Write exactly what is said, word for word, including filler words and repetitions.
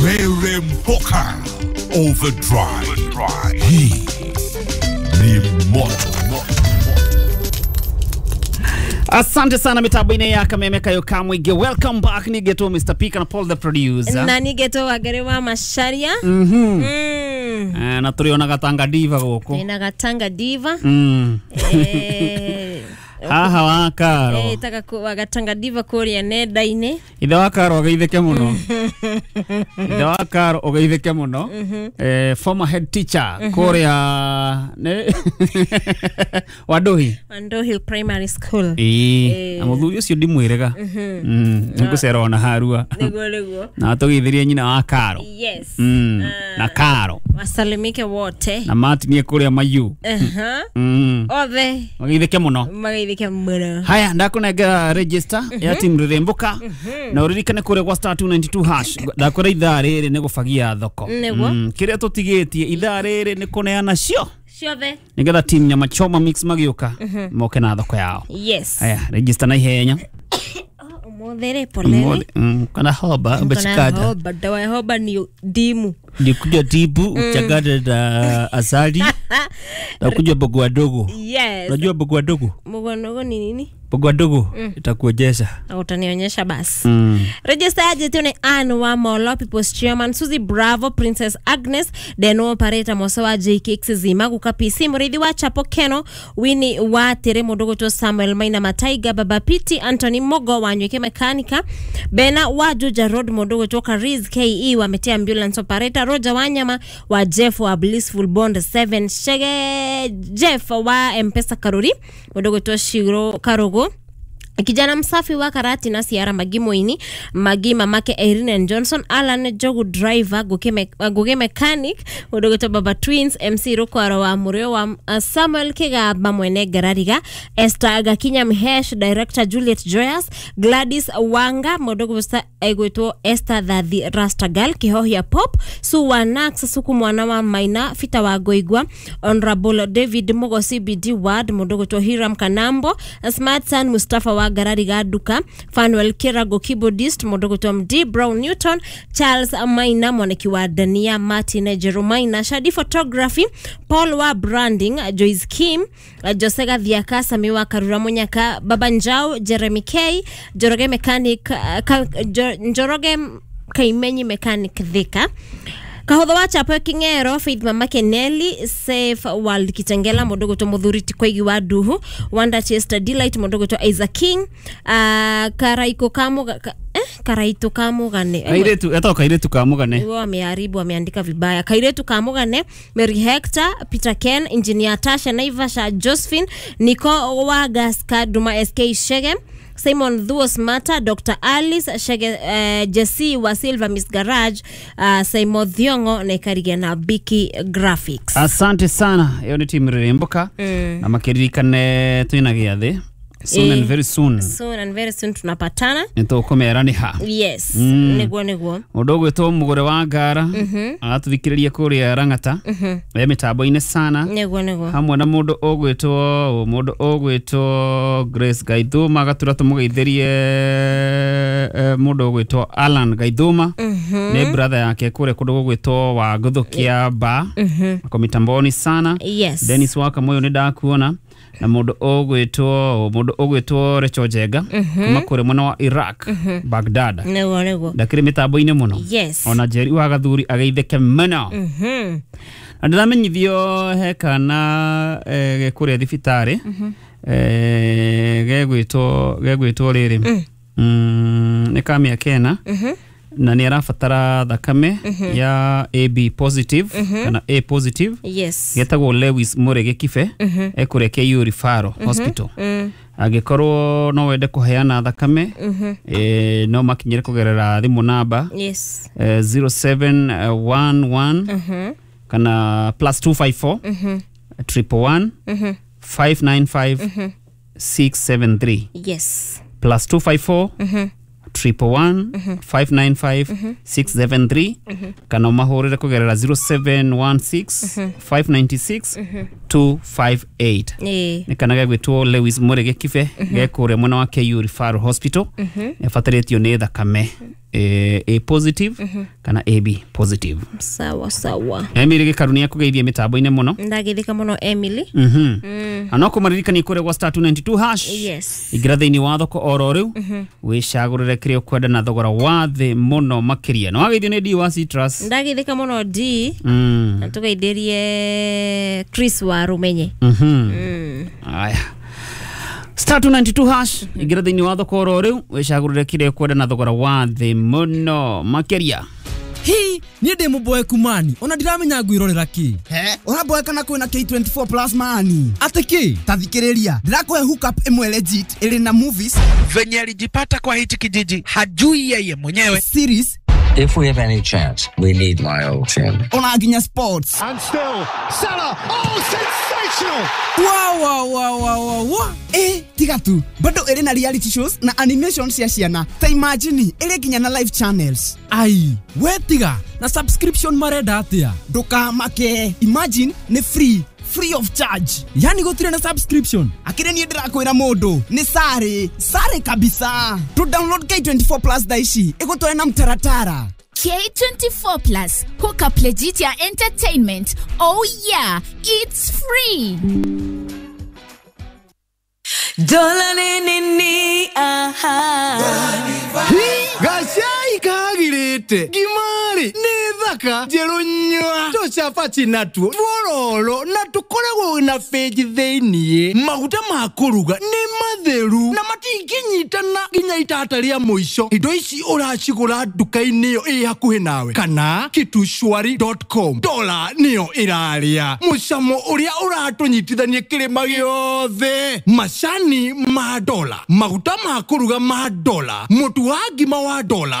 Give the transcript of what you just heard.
Rere Mpoka Overdrive. Hii ni moto. Asante sana mitambo-inĩ ya Kameme Kayo Kamwige. Welcome back ni Geto Mister P na Paul the producer. Na ni Geto Wagere wa Macharia. Mhm. Mm. Eh, na turiona Gatanga Diva guku. Na Gatanga Diva. Mm. Eh. Haha wa Karo. Eh, taka ku Gatanga Diva kuria nenda-inĩ. Ithe wa Karo ageithĩke mũno. Ithe wa Karo ũgeithĩke mũno. Eh, former head teacher kuria ne Wanduhi. Wanduhi Primary School. Ĩĩ, na mũthuri ũcio ndimwĩrega. Mm, nĩngũcera ona harua. Nĩguo nĩguo. Na tũgeithirie nyina wa Karo. Yes. Mm, na Karo. Wasalimike wote. Na matinie kuria mayu. Aha. Mm. Othe. Mageithĩke mũno. Mageithĩke mũno. Haya, ndakunengera register ya team Rurembuka na uririkane kuria gwa star two ninety two hash ndakwira ithaa rĩrĩ nĩ gũbagia thoko. Nĩguo. Kĩrĩa tũtigĩtie ithaa rĩrĩ nĩ kũneana cio ciothe nĩgetha team Nyama Choma Mix magĩũka moke na thoko yao. Yes. Haya, register na ihenya. Ũmũthĩ rĩ poleni. Kana hoba ubechikada. Hoba, dawa ya hoba ni dimu. Nikuja tibu uchangane na asali na kuja bogo dogo. Yes. Unajua bogo dogo? Bogo dogo ni nini? Bogo dogo itakuonyesha. Na utanionyesha basi. Mm. Register aje ni Ann wa Molo People's Chairman, Suzy Bravo, Princess Agnes, Deno Operator Mosowa J K X Zima, Guka P C, Murithi wa Chapo Keno, Winnie wa Tere Mudogo to Samuel Maina Mataiga, Baba Piti, Anthony Mogo wa Nyweke Mekanika, Bena wa Juja Road Mudogo to Kariz K E wa Metea Ambulance Operator, Roger Wanyama wa Jeff wa Blissful Bond seven, Shege Jeff wa Mpesa Karuri, Mudogo to Shiro Karogo, Kijana msafi wa karati na Siara Magimoini, Magi mamake Irene and Johnson, Alan Jogu driver, Guge, me, Guge mechanic, Udogoto Baba Twins, M C Rukwaro wa Murio wa uh, Samuel Kigaba mwene Garariga, Esther Gakinya Mhesh, Director Juliet Joyas, Gladys Wanga, Modogo Egweto Esther Dadhi Rastagal, Kihohia Pop, Suwa Nax, Suku mwana wa Maina, Fita wa Goigwa, Honorable David Mugo C B D Ward, Modogoto Hiram Kanambo, Smart San Mustafa wa Garariga Duka, Fanuel Kirago keyboardist, Modogo M D Brown Newton, Charles Maina mwaneki wa Dania, Martin Jerumaina, Shadi Photography, Paul wa Branding, Joyce Kim, Josega Dhiaka, Samiwa Karura Munyaka, Baba Njau, Jeremy K, Njoroge Mechanic, ka, Njoroge Kaimenyi Mechanic Thika. Kahotho wa Chapo Kingero, Faith Mama Keneli, Safe World Kitengela, Modogo to Muthuri Tikwaigi wa Duhu, Wanda Chester Delight, Modogo to Isaac King, uh, Karaiko Kamuga, ka, eh? Karaito Kamugane. Kairetu, eto Kairetu Kamugane. Wao wameharibu, wameandika vibaya. Kairetu Kamugane, Mary Hector, Peter Ken, Engineer Tasha Naivasha, Josephine, Nico Wagaska, Duma S K Shege, Simon Thuos Mata, Doctor Alice Shege, uh, Jesse wa Silva Miss Garage, uh, Simon Thiongo na Ikarigia na Biki Graphics. Asante sana. Iyo ni team Rurembuka. Mm. Na makiririkane twina gĩathĩ. Soon e, and very soon. Soon and very soon tunapatana. Nĩtũkũmera nĩ ha. Yes. Mm. Nĩguo nĩguo. Mũndũ ũgwĩtwo Mũgũre wa Ngara. Mhm. Aratũthikĩrĩria kũrĩa Rang'ata. Mhm. E mĩtambo-inĩ sana. Nĩguo nĩguo. Hamwe na mũndũ ũgwĩtwo mũndũ ũgwĩtwo Grace Gaithuma agatura tũmũgeithĩrie mũndũ ũgwĩtwo Alan Gaithuma. Mhm. Nĩ brother yake kũrĩa kũndũ gũgwĩtwo wa Gũthũkia Ba. Mhm. Ako mitamboni sana. Yes. Dennis Wakamoyo nĩ ndakuona. Na mũndũ ũgwĩtwo mũndũ ũgwĩtwo Recho Njenga kuma kũrĩa mwena wa Iraq, Baghdad. Nĩguo nĩguo. Ndakĩrĩ mĩtambo-inĩ mũno. Yes. Ona Njeri wa Gathuri ageithĩke mũno. Mhm. Na ndĩramenyithio he kana eh, kũrĩa thibitarĩ eh, gegwĩtwo gegwĩtwo rĩrĩ mm, nĩ ka mĩaka ĩna na nĩ arabatara thakame ya A B positive kana A positive. Yes. Getagwo Lewis Murege Kibe ekũrĩa K U Referral Hospital. Angĩkorwo no wende kũheana thakame eh, no makinyĩre kũgerera thimũ namba Yes. eh, zero seven one one kana plus two five four triple one five nine five six seven three. Yes. Plus two five four triple one five nine five six seven three kana umahũrĩre kũgerera zero seven one six five nine six two five eight. Ĩĩ. Nĩ kana gegwĩtwo Lewis Murege Kibe gekũrĩa mwena wa K U Referral Hospital ebatarĩtio nĩ thakame. eh, A positive kana A B positive. Sawa sawa. Emily Gĩkaru nĩ akũgeithia mĩtambo-inĩ mũno. Ndagithika muno, Emily. Mhm. Na no kũmaririkania kũrĩa gwa star two nine two hash. Yes. Ingĩra thĩinĩ wa thoko oro rĩu, wĩcagũrĩre kĩrĩa ũkwenda na thogora wa thĩ mũno makĩria. Na wageithio nĩ D wa Citrus. Ndagithika muno D. Mm. Na tugeithirie Chris wa Rumenye. Mhm. Aya, star two nine two hash, ingĩra thĩinĩ wa thoko oro rĩu, wĩcagũrĩre kĩrĩa ũkwenda na thogora wa thĩ mũno makĩria. Hi niĩ ndĩ mũboeku mani, ona ndiramenya ngwĩrorera kĩ. He ũramboeka na kwĩna K twenty-four Plus mani. Atĩ kĩ? Ta thikĩrĩria, ndĩrakũhe hookup ĩmwe legit ĩrĩ na movies, Venye alijipata kwa hichi kijiji hajui yeye mwenyewe. series, If we have any chance, we need my old team. Ona nginya sports. And still, Salah. Oh, sensational! Wa wa wa wa wa wa. Ĩ tiga tu, bado ĩrĩ na reality shows na animation cia ciana. Ta imagine, ĩrĩ nginya na live channels. Ai we tiga, na subscription marenda atĩa? Ndũkamake, imagine nĩ free, free of charge. Yani gũtirĩ na subscription? Akĩrĩ niĩ ndĩrakwĩra mũndũ nĩ sare sare kabisa. To download K twenty-four Plus thaa ici ĩgũtware na mtaratara. K twenty-four Plus, hook up legit ya entertainment. Oh yeah, it's free. Dola ni nini aha. Gacai kagirĩte ngimari nĩ thaka njerũ nyua tũcabaci natuo tuororo na tũkoragwo na bĩnji thĩiniĩ. Maguta ma kũruga nĩ matheru na matingĩnyitana nginya itata rĩa mũico. Indo ici ũracigũra nduka-inĩ ĩyo ĩ hakuhĩ nawe kana kitushwari dot com. Dola nĩyo ĩrarĩa mũcamo ũrĩa ũratũnyitithania kĩrĩma gĩothe. Macani ma Dola, maguta ma kũruga ma Dola, mũtu wa ngima wa Dola.